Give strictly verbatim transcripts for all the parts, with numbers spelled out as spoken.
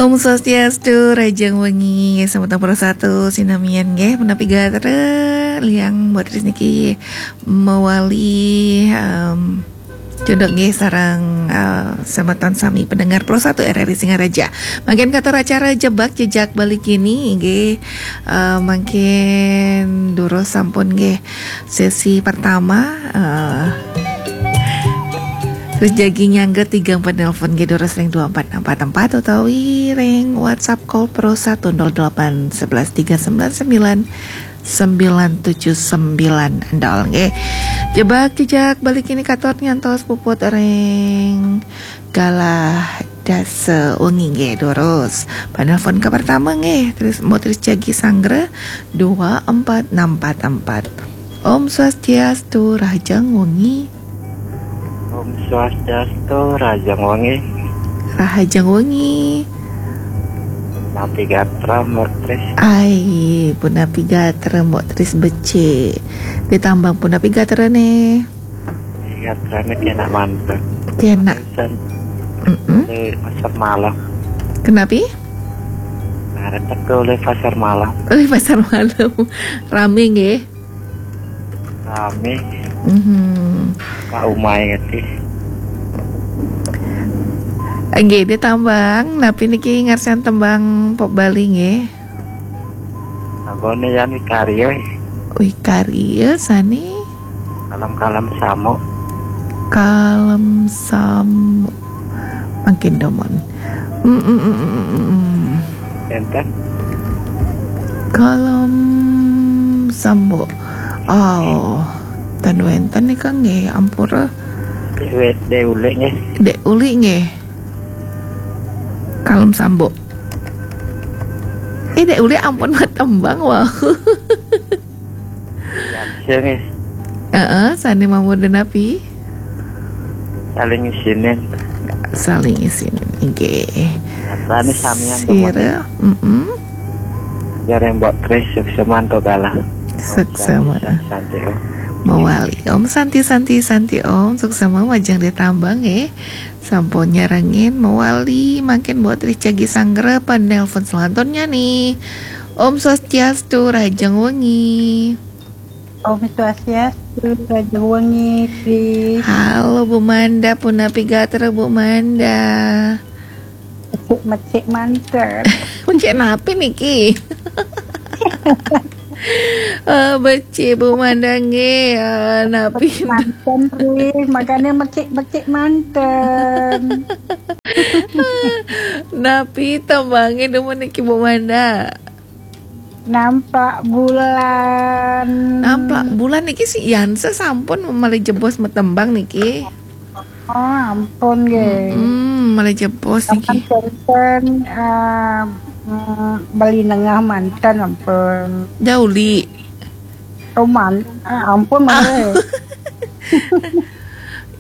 Om Swastiastu, rahajeng wengi, semeton Pro satu sinamian nggih, punapi gatra, liang buat ris niki mawali, em, cunduk nggih sareng, eh, semeton sami pendengar Pro satu R R I Singaraja. Mangkin katur acara Jebak Jejak Bali kini nggih, eh, mangkin durus sampun nggih sesi pertama, eh, terus jagi nyangga tigang penelpon nggih durus ring dua empat enam empat empat utawi ring WhatsApp call Pro satu nol delapan sebelas tiga sembilan sembilan sembilan tujuh sembilan nol nggih. Jebak Jejak Bali kini katur ngantos puput ring galah dasa wengi nggih durus. Penelpon ke pertama nggih, terus mau terus jagi sanggra dua empat enam empat empat. Om Swastiastu, rahajeng wengi. Om Swastiastu, rahajeng wengi. Rahajeng wengi. Napi gatra, Mbok Tris? Ai, punapi gatra, Mbok Tris becik. Ditambang punapi gatra nih. Gatrane kenak mantep. Kenak. San. Mm-mm. Di pasar malam. Kenapi? Nah, retek tuh oleh pasar malam. Oleh pasar malam. Rame nggih. Rame. Mhm. Pak umai ngerti. Nggih, ditambang. Napi niki ngarsan tembang pop Bali nggih? Tanggone yan wikarya. Wikarya sane? Kalem-kalem samuk. Kalem samuk. Mangkin domon. Mm, mm, mm, mm, mm, mm. Enten. Kalem samuk. Oh, ten wenten nika nggih, ampura. Dek, dek ulik nggih. Dek ulik nggih. Kalem samuk. Eh, dek ulik ampun matembang, wau. Ya, nggih. Heeh, sane mamurda napi? Saling isinin. Saling isinin, nggih. Sane samian. Sira, mm-mm. Jare Mbok Tris, suksma antuk galah. Suksma. Santi, Om. Mawali. Om Santi, Santi, Santi, Om. Suksma majeng ditambang, nggih. Sampun nyarengin mawali, mangkin Mbok Tris jagi sanggra penelpon selantunnya nih. Om Swastiastu, rahajeng wengi. Om Swastiastu, rahajeng wengi, Tris. Halo, Bu Manda, punapi gatra, Bu Manda? Mecik-mecik mantep. Mecik napi niki? Eh, becik Bu Manda nggih, eh, napi? Mecik manten, Tris. Makanya mecik-mecik manten. Napi tembange demen niki, Bu Manda? Nampak bulan. Nampak bulan niki si Yansa sampun malih jebos matembang niki. Oh, ampun nggih. Hmm, malih jebos niki. Ampun, eh, mm, beli nengah manten, ampun. Dauli. Roman, eh, ampun, malih.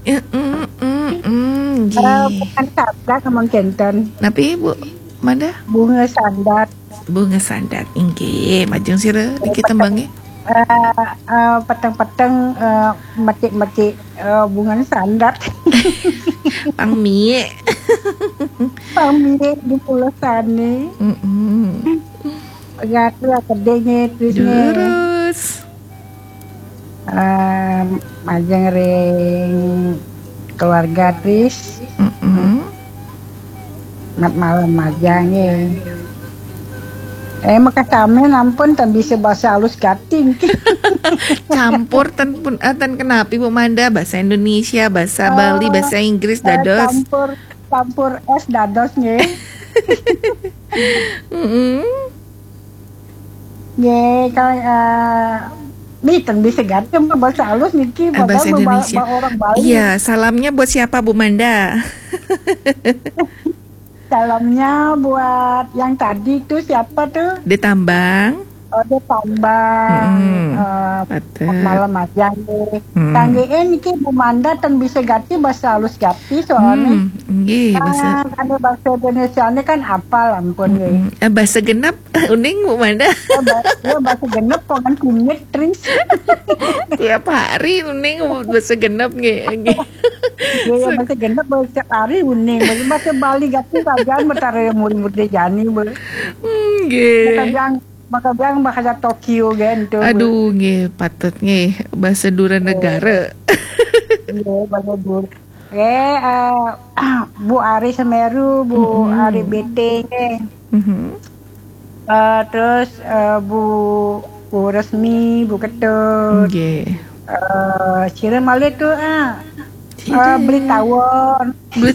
Eh, mm, mm, mm, nggih. Eh, bukan sabda, ampun, kenten. Napi, Bu Manda? Bunga sandat. Bunga sandat, inggih. Majeng sira niki tembange? Eh, eh, peteng-peteng, eh, metik-metik, eh, bunga sandat. Pang mie. Pang mie di pulau sane. Mm-mm. Gatra kedinge, Trisne. Durus. Eh, majeng ring keluarga Tris. Mm-mm. Mat malam majeng nggih. Eh, makasami nampun ten bisa bahasa halus gating. Campur ten pun, eh, ten kenapi Bu Manda, bahasa Indonesia, bahasa Bali, bahasa Inggris, eh, dados. Campur, campur es dados nggih. Mm-mm. Nggih, kalau, eh, miten bisa ganti bahasa halus niki, eh, bahasa Indonesia. Orang Bali. Iya, salamnya buat siapa, Bu Manda? Salamnya buat yang tadi tuh, siapa tuh? Ditambang. Ada tambang, Mm-mm. eh, Patut. Malam aja nih. Mm. Kangge niki Bu Manda ten bisa gati bahasa halus gati soalnya. Hmm, nggih, bahasa Kan ada bahasa Indonesia ini kan apal ampun nggih. Mm-mm. Eh, bahasa genep, uning Bu Manda. Ya, ba- ya, bahasa genep kok kan kunyit Tris. Tiap hari uning bahasa genep nggih. Nggih. Ya, ya, bahasa genep bahasa hari uning. Bahasa, bahasa Bali gati kajian betara murid-murid jani be. Hmm, nggih. Maka biang maka biang bahasa Tokyo kan tuh. Aduh, nggih, patut nggih, bahasa dura negara. Iya, bahasa dura. Eh, eh, Bu Ari Semeru, Bu Mm-mm. Ari Bete nggih. Mhm. Eh, terus eh, Bu Bu Resmi, Bu Ketut. Nggih. Eh, sira malih tuh ah. Eh, beli tawon. Beli,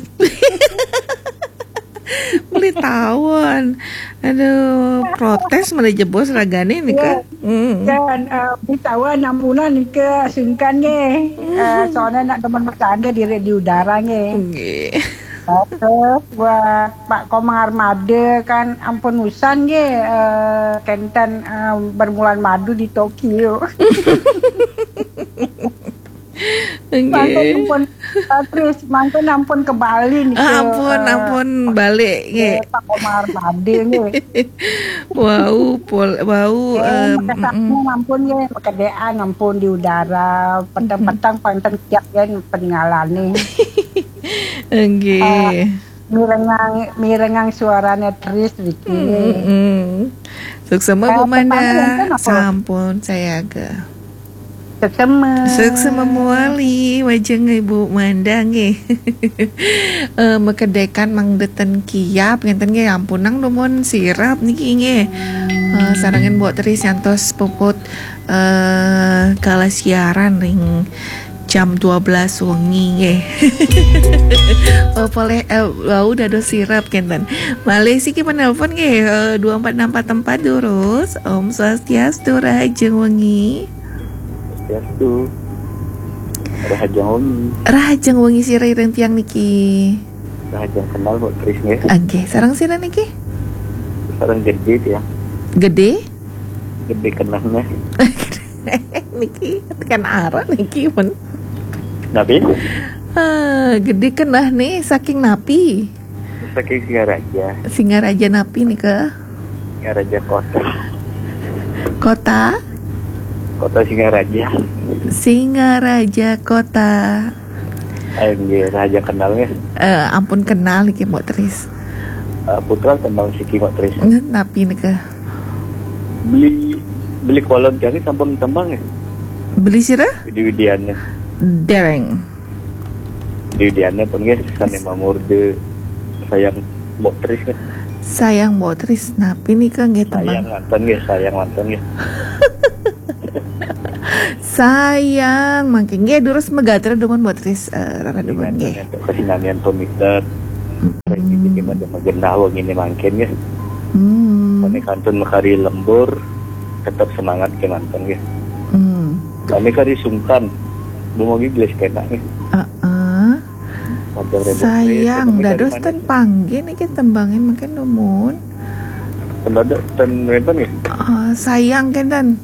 beli tawon. Aduh, protes malah jebos ragane nih kan. Hmm. Kan eh, beli tawon ampunan nika sungkan nggih. Eh, soalnya nak teman bercanda di di udara nggih. Nggih. Terus buat Pak Komang Armada kan ampun usan nggih eh, kenten eh, bermulan madu di Tokyo. Mangke Nggih. ampun eh, terus mangke ampun ke Bali nih. Ah, ampun, ampun balik nggih. Pak Komang Armada nggih. Wau, pol, wau, Eh, em, makasaknya ampun nggih, pekedean ampun di udara, petang-petang panten siap kan pengalane. nggih. Mirengang mirengang suarane Tris iki. Mm-mm. Suksema Bu Eh, Manda. pertama yang kan apa? Sampun sayaga. Suksema. Suksema muali, wajeng Ibu Manda nggih. Eh, mekedekan mangdeten kiap ngenten nggih, ampunang dumun sirap niki nggih. Eh, sarengin Mbok Tris nyantos puput eh kala siaran ring jam dua belas wengi nggih. Oh, poleh eh, wau dados sirap kenten. Malih siki penelpon nggih, eh, dua empat enam empat empat durus. Om Swastiastu, rahajeng wengi. Swastiastu. Rahajeng wengi. Rahajeng wengi sira ring tiang niki. Rahajeng kenal Mbok Tris nggih. Nggih, sareng sira niki? Sareng Gede ya. Gede? Gede kenal nggih. Niki kan arah niki pun. Napi? Ah, Gede kenah nih saking napi? Saking Singaraja. Singaraja napi nika? Singaraja kota. Kota? Kota Singaraja. Singaraja kota. Ayo nggih, Raja kenal nggih. Eh, ampun kenal niki Mbok Tris. Eh, putra kenal siki Mbok Tris. Nggih, napi nika? Beli beli kolon kami sampun tembang nggih. Beli sira? Widi Widiana. Dereng. Widi Widiana pun nggih sane mamurde sayang Mbok Tris nggih. Sayang Mbok Tris, napi nika nggih tembang? Sayang mantan nggih, sayang mantan nggih. Sayang mangke nggih durus megatra dumun Mbok Tris, eh, rara dumun nggih. Untuk kesinamian pemikat. Rezeki pada magenah wengi ini mangkin nggih. Hmm. Kami kantun mekari lembur, tetap semangat ke mantan nggih. Hmm. Kami kari sungkan, dumogi gelis kena nggih. Heeh. Panjang rembuk Sayang gelis, dados kami ten panggih niki tembangin mangke dumun. Pendadak ten renten nggih. Ah, sayang kenten.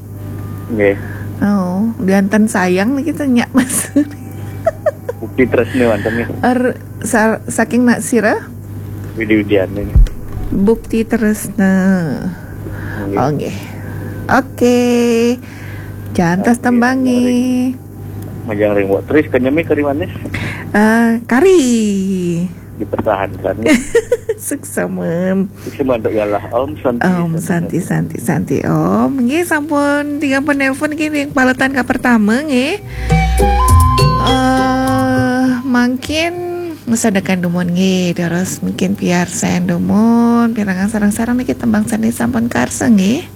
Nggih. Oh, dianten sayang niki ten nyak Mas. Bukti tresna mantan nggih. Er, sa- saking nak sira? Widi Widiana nggih. Bukti tresna. Nggih. Oh, nggih. Oke. Jantos Oke, tembangi. Majang ring Mbok Tris kenyemi kari manis. Eh, kari. Dipertahankan. Suksema. Sik mantuk ya lah. Om Santi. Om Santi, Santi, Santi, Om. Nggih, sampun tiga penelpon nggih ring paletan ka pertama nggih. Eh, mangkin ngesedekan dumun nggih, terus mungkin piarsan dumun, pirengang sareng-sareng niki tembang sane sampun karsa nggih.